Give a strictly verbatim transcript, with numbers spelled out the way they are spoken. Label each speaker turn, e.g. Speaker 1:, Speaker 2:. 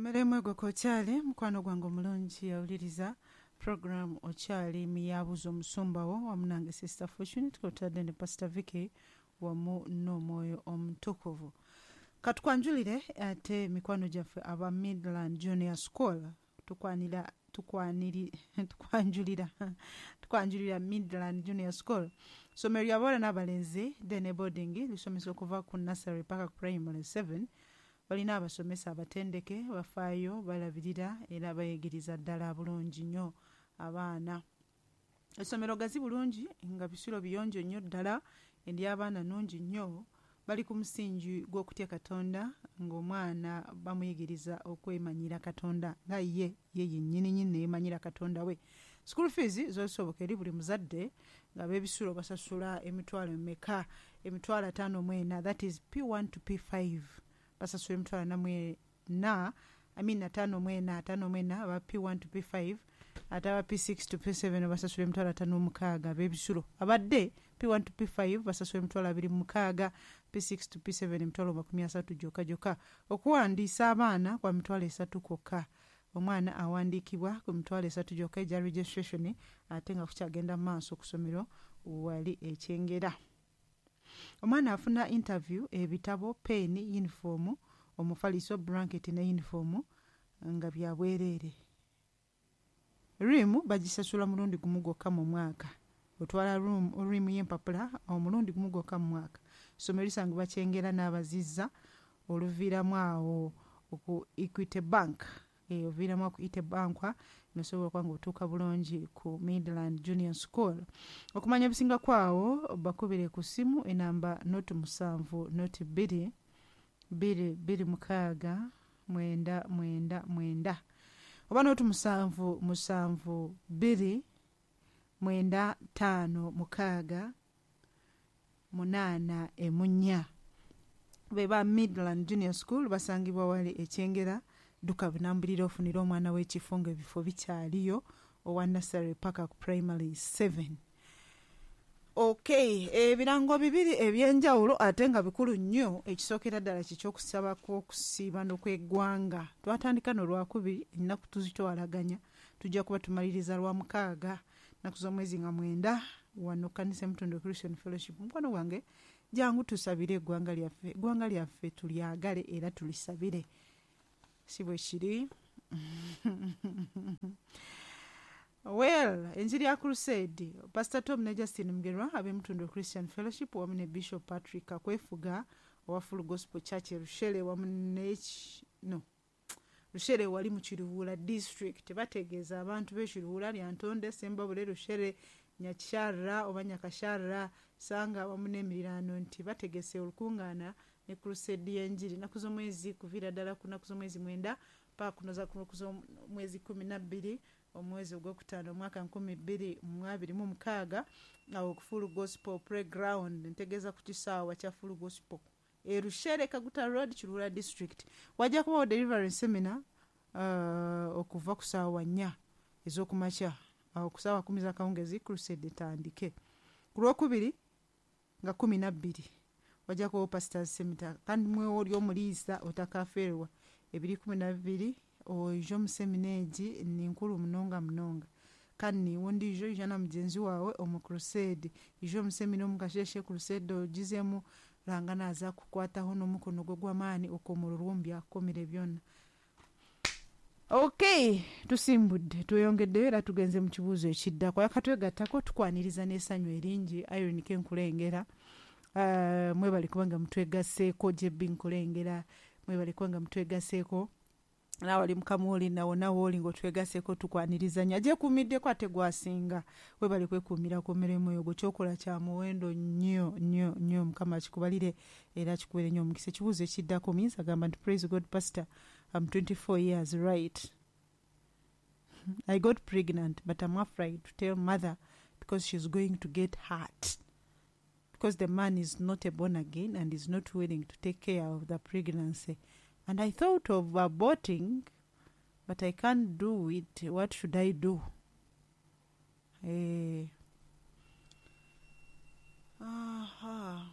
Speaker 1: Kummeremu egoko okyali mukwano gwange omulungi yawuliriza program okyali miyabuza omusumba wo wamu nange Sister Fortune, tukotadde ne Pastor Vicky wamu n'omwoyo omutukuvu. Katukwanjulire ate mikwano gyaffe aba Midland Junior School. Tukwanira tukwaniri tukwanjulira tukwanjulira Midland Junior School, ssomero ly'abawala n'abalenzi day boarding, lisomesa okuva ku nursery paka ku primary seven. Balina abasomesa abatendeke, bafaayo, balabirira era bayigiriza ddala bulungi nnyo abaana. Essomero gazi bulungi nga bisulo biyonjo nnyo ddala, endy'abaana nnungi nnyo. Bali ku musingi gw'okutya Katonda, ng'omwana bamuyigiriza okwemanyira Katonda nga ye ye yennyini nnyini neyeemanyira Katonda we. School fees zosoboka eri buli muzadde, nga b'ebisulo basasula emitwalo emeka? Emitwalo ataano mu ena, that is P one to P five basasula emitwalo ana mu ena, I mean ataano mu ena, ataano mu ena aba P one to P five, ate aba P six to P seven basasula emitwalo ataano mu mukaaga. Ab'ebisulo abadde P one to P five basasula emitwalo abiri mu mukaaga, P six to P seven emitwalo makumi asatu gyokka gyokka. Okuwandiisa abaana kwa mitwalo esatu kwokka. Omwana awandiikibwa ku mitwalo esatu gyokka egya registration, ate nga kukyagenda mu maaso ku ssomero wali ekyengera. Omwana afuna interview, ebitabo, peeni, yunifoomu, omufaliso, blanket ne yunifoomu nga bya bwereere. Riimu bagisasula mulundi gumu gwokka mu mwaka. Otwala riimu y'empapula omulundi gumu gwokka mu mwaka. Ssomero lisangibwa Kyengera n'Abazizza, oluviiramu awo ku Equity Bank, oviiramu ku Equity Bank nosobola okuba nga otuuka bulungi ku Midland Junior School. Okumanya ebisingako awo, bakubire ku ssimu enamba noti musanvu noti bbiri bbiri bbiri mukaaga mwenda mwenda mwenda oba noti musanvu musanvu bbiri mwenda ttaano mukaaga munaana emunya. Be ba Midland Junior School, basangibwa wali Ekyengera. Dduka bunambulira ofunire omwana w'ekifo ng'ebifo bikyaliyo, owa nursery paka ku primary seven. Okay, ebirango bibiri ebyenjawulo ate nga bikulu nnyo. Ekisookera ddala kikyokusaba kw'okusiiba n'okweggwanga. Twatandika nolwakubiri, ennaku tuzitwalaganya, tujja kuba tumaliriza lwa mukaaga, nnaku z'omwezi nga mwenda, wano Kanisa Emutondo Christian Fellowship. Mukwano gwange, jangu tusabire eggwanga lyaffe. Eggwanga lyaffe tulyagale era tulisabire, si bwe kiri? Well, enjiri ya crusade, Pastor Tom ne Justin Mugerwa ab'Emutondo Christian Fellowship wamu ne Bishop Patrick Kakwefuga owa Full Gospel Church e Rushere wamu ne no Rushere wali mu Kiruhura District, bategeeza abantu b'e Kiruhura, Lyantonde, Sembabule, Rushere, Nyakyara oba Nyakasharra, Sanga wamu n'emiriraano nti bategese olukungaana ne crusade y'enjiri nnaku z'omwezi kuviira ddala ku nnaku z'omwezi mwenda paka kunoza ku nnaku z'omwezi kumi na bbiri omwezi ogwokutaano omwaka nkumi bbiri mu abiri mu mukaaga, awo ku Full Gospel Playground, ntegeeza ku kisaawa kya Full Gospel e Rushere, Kaguta Road, Kiruhura District. Wajja kubawo deliverance seminar uh, okuva ku saawa nnya ez'okumakya. Awo ku saawa kumi z'akawungezi crusade etandike. Ku lwokubiri nga kumi nabbiri wajja kubawo pastors seminar, kandi mwewo oli omuliisa otakafeerwa ebiri kumi nabibiri oije omu seminar egi, ni nkuru munonga munonga. Kandi niiwe ondiijo ija na mugyenzi waawe omu crusade, ija omu seminar omu kasheshe, crusade ogizemu, Ruhanga naaza kukwataho n'omukono gwe gw'amaani okomororwa omu byakukomire byona. Okay, tusimbudde, tweyongeddeyo era tugenze mu kibuuzo ekiddako. Akatwegattako tukwaniriza n'essanyu eringi. Irene Kenkulengera, uh, mwebale kubanga mutwegasseeko. Jebbi Nkulengera, mwebale kubanga mutwegasseeko. Naawe ali mukamuoli nawo nawe oli ng'otwegasseeko, tukwaniriza nnyo. Agyekuumiddeko ate gwasinga, webale kwekuumira ku mirimu eyo gwe kyokola kya muwendo nnyo nnyo nnyo. Mukama akikubalire era akikuwere nnyo omukisa. Ekibuuzo ekiddako, omuyinza agamba nti, "Praise God, Pastor. I'm twenty-four years, right? I got pregnant, but I'm afraid to tell mother because she's going to get hurt because the man is not a born again and is not willing to take care of the pregnancy, and I thought of aborting, but I can't do it. What should I do?" Eh. Aha.